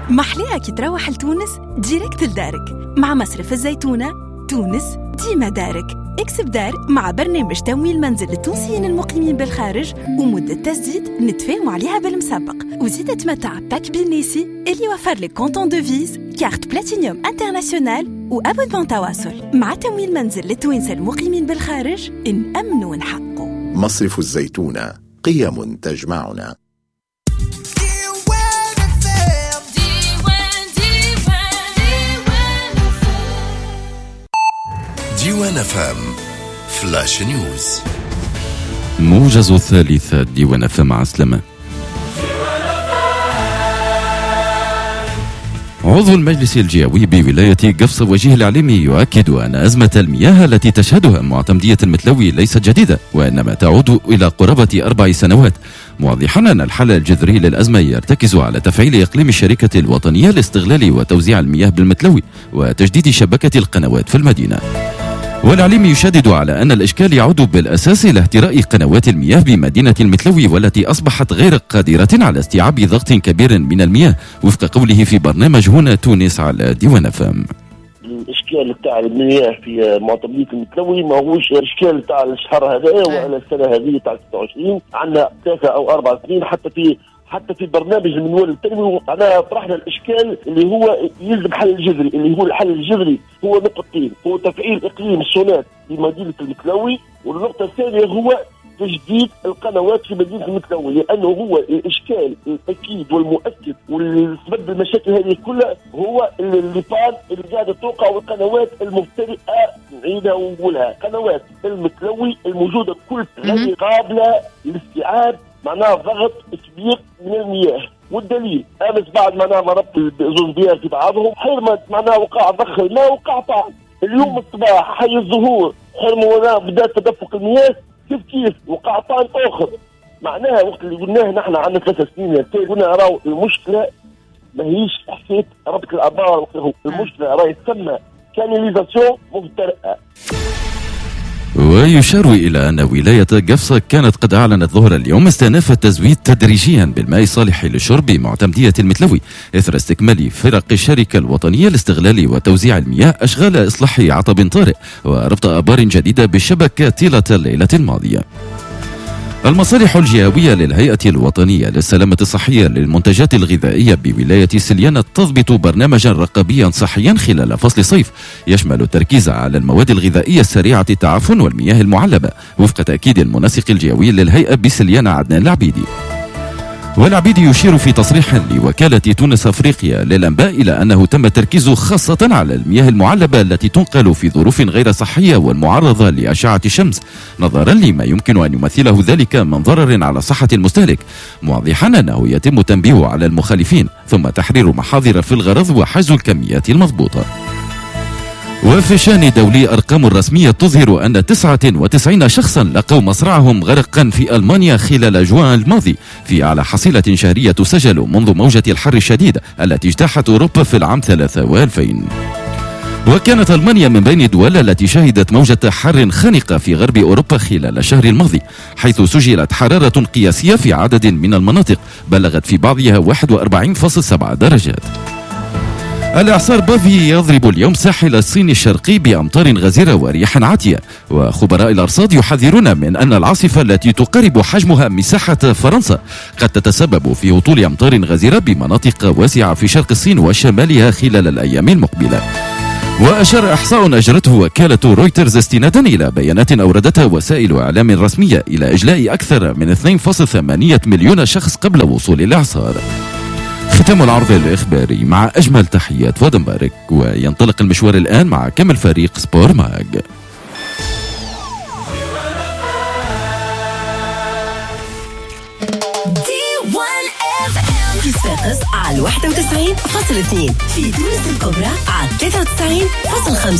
محليها كي تروح لتونس direct لدارك مع مصرف الزيتونة. تونس ديما دارك. اكسب دار مع برنامج تمويل منزل للتونسيين المقيمين بالخارج ومدة تسديد نتفاهموا عليها بالمسبق، وزيد تمتع pack بينيسي اللي يوفر لك compte en devises، carte platinium internationale و abonnement تواصل. مع تمويل منزل للتوانسة المقيمين بالخارج نأمنوا ونحققوا. مصرف الزيتونة، قيم تجمعنا. ديوان FM flash news، موجز الثالثة. ديوان FM، عسلامة. عضو المجلس الجهوي بولاية قفصة وجيه العليمي يؤكد أن أزمة المياه التي تشهدها معتمدية المتلوي ليست جديدة، وإنما تعود إلى قرابة 4 سنوات، موضحا أن الحل الجذري للأزمة يرتكز على تفعيل إقليم الشركة الوطنية لاستغلال وتوزيع المياه بالمتلوي وتجديد شبكة القنوات في المدينة. والعليم يشدد على أن الإشكال يعود بالأساس إلى اهتراء قنوات المياه بمدينة المتلوي، والتي أصبحت غير قادرة على استيعاب ضغط كبير من المياه، وفق قوله في برنامج هنا تونس على ديوان FM. الإشكال تاع المياه في معتمدية المتلوي ماهوش إشكال تاع الشهر هذا ولا السنة هذه تاع 26، عندنا 3 أو 4 سنين. حتى في برنامج المنوال التنموي معناها طرحنا الاشكال اللي هو يلزم حل الجذري، اللي هو الحل الجذري هو نقطتين: هو تفعيل اقليم السونات بمدينة المتلوي، والنقطة الثانية هو تجديد القنوات في مدينة المتلوي، لانه هو الاشكال الاكيد والمؤكد والسبب المشاكل هذه كلها هو les pannes اللي قاعدة توقع، والقنوات المبتدئه نعيدها ونقولها، قنوات المتلوي الموجودة كل غير قابله لاستيعاب معناها ضغط كبير من المياه. والدليل امس بعد معناها ما ربط زوز بيار في بعضهم حرمت، معناها وقع ضخ الماء وقع طعن. اليوم الصباح حي الزهور حرموا بدا تدفق المياه كيف كيف وقع طعن اخر. معناها وقت اللي قلناه نحن عندنا 3 سنين قلنا راهو المشكلة ماهيش حكاية ربط الابار، المشكلة راهي تسمى canalisation مهترئه. ويشار إلى أن ولاية قفصة كانت قد أعلنت ظهر اليوم استئناف التزويد تدريجيا بالماء الصالح للشرب بمعتمدية المتلوي إثر استكمال فرق الشركة الوطنية لاستغلال وتوزيع المياه أشغال إصلاح عطب طارئ وربط آبار جديدة بالشبكة طيلة الليلة الماضية. المصالح الجهوية للهيئة الوطنية للسلامة الصحية للمنتجات الغذائية بولاية سليانة تضبط برنامجا رقابيا صحيا خلال فصل الصيف يشمل التركيز على المواد الغذائية السريعة التعفن والمياه المعلبة، وفق تأكيد المنسق الجهوي للهيئة بسليانة عدنان العبيدي. والعبيدي يشير في تصريح لوكالة تونس أفريقيا للأنباء إلى أنه تم التركيز خاصة على المياه المعلبة التي تنقل في ظروف غير صحية والمعرضة لأشعة الشمس، نظرا لما يمكن أن يمثله ذلك من ضرر على صحة المستهلك، موضحا أنه يتم التنبيه على المخالفين ثم تحرير محاضر في الغرض وحجز الكميات المضبوطة. وفي الشأن الدولي، أرقام رسمية تظهر أن 99 شخصا لقوا مصرعهم غرقا في ألمانيا خلال جوان الماضي، في أعلى حصيلة شهرية تسجل منذ موجة الحر الشديد التي اجتاحت أوروبا في العام 2003. وكانت ألمانيا من بين الدول التي شهدت موجة حر خانقة في غرب أوروبا خلال الشهر الماضي، حيث سجلت حرارة قياسية في عدد من المناطق بلغت في بعضها 41.7 درجات. الإعصار بافي يضرب اليوم ساحل الصين الشرقي بأمطار غزيرة ورياح عاتية، وخبراء الأرصاد يحذرون من أن العاصفة التي تقارب حجمها مساحة فرنسا قد تتسبب في هطول أمطار غزيرة بمناطق واسعة في شرق الصين وشمالها خلال الأيام المقبلة. وأشار إحصاء أجرته وكالة رويترز استنادا إلى بيانات أوردتها وسائل إعلام رسمية إلى إجلاء أكثر من 2.8 مليون شخص قبل وصول الإعصار. ختام العرض الإخباري مع أجمل تحيات فؤاد مبارك، وينطلق المشوار الآن مع كامل فريق سبور ماج. في صفاقس على 91.2، في تونس الكبرى على 93.5.